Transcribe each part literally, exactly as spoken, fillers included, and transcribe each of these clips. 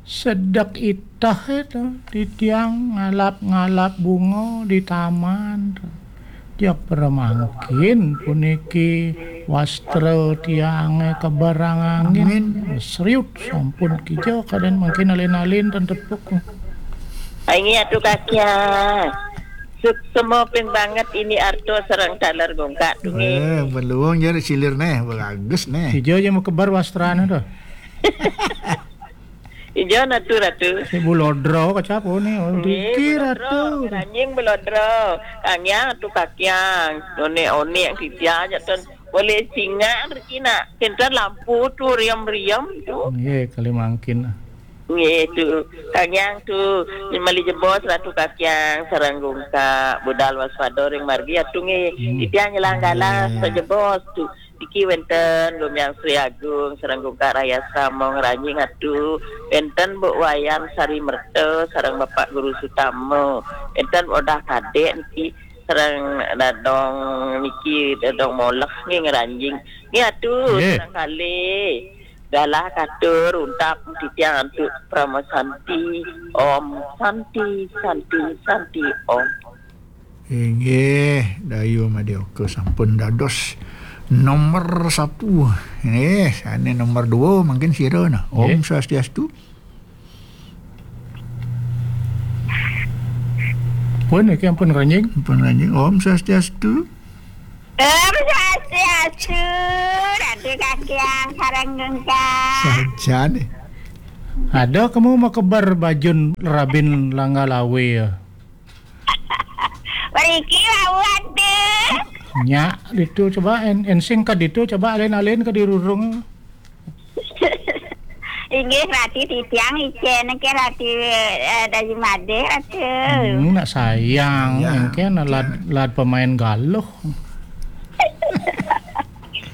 Sedek iteh itu, titiang ngalap-ngalap bunga di taman. Jak para mangkin puniki wastra tiange keberang angin. Angin. Seriut sampun kija kaden mangkin alin-alin ten tepuk. Inggih atu kakiang. Suksma ping banget ini arto sareng taler gungkak tunggih. Eh, beluang jar silir neh, bagus neh. Kija ja makeber wastrane to. Ija natu ratu. Si bulodra kacap one. Oh, nggih, diki bulodra, ratu. Ngeranjing bulodra. Kangyang atu kakiang. One-one yang titiang aja ten. Boleh singa riki nak. Kinten lampu tu riam-riam tu. Nggih, kali mangkin. Nggih tu. Kangyang tu. Mali jebos ratu kakiang sareng gungkak budal waspada ring margi atu nggih. Hmm. Titiang nyelang galah. Nggih. Sajebos tu. Niki wenten Lumiang Sri Agung sareng gungkak rayasa mong ranjing atu. Wenten Bu Wayan Sari Merta sareng Bapak Guru Sutama. Wenten Odah Kadek niki sareng Dadong niki Dadong Molek nggih ngeranjing. Nggih atu. Nggih. Sareng kalih. Galah katur untap titiang antuk Parama Santi. Om Santi, Santi, Santi, Om. Inggih, Dayu Madioka sampun dados nomor satu. Eh, sane nomor dua mungkin sira nah. Om Nggih. Swastiastu. Pun iki ampun ranjing. Ampun ranjing. Om Swastiastu. Om Swastiastu, Ratu Kakiang sareng gungkak. Sajane. Ada kamu makeber bajun rabin langga lawe ya. Mriki wau ade. Nyak ditu coba en, ensing ka ditu coba alin-alin ka dirurung. Inggih, Ratu titiang icen ke Ratu, eh, Dayu Made, Ratu. Hmm, nak sayang, ya, engke nak lad, lad pemain galuh.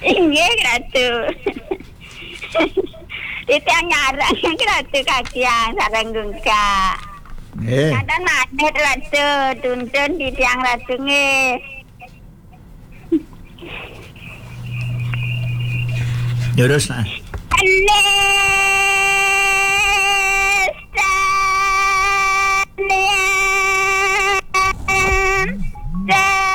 Inggih, Ratu. Titiang nyarang ke Ratu kakiang sareng gungkak. Nggih. Kadan manit Ratu, tuntun titiang Ratu nggih. Terus nah. Halo.